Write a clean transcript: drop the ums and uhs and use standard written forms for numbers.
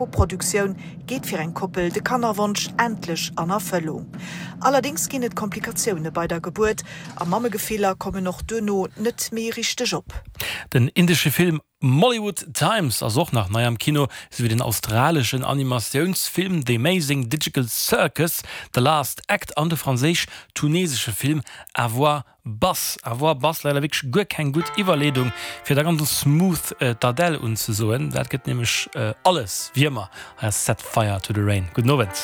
Koproduktioun geet fir eng Koppel de Kannerwonsch endlech an Erfëllung. Allerdéngs ginn et Komplikatioune bei der Gebuert a Mammegefiller kommen och duerno net méi richteg op. Den indesche Film Mollywood Times ass och nach nei am Kino, esou wéi den australeschen Animatiounsfilm The Amazing Digital Circus, The Last Act an de franséisch-tunesesche Film À voix Bass, à voix basse, leider wierklech guer keng gutt Iwwerleedung fir da ganz smooth d'Adele unzesoen. Dat gëtt nämlech alles, wéi ëmmer. Hei ass Set Fire to the Rain. Gudden Owend.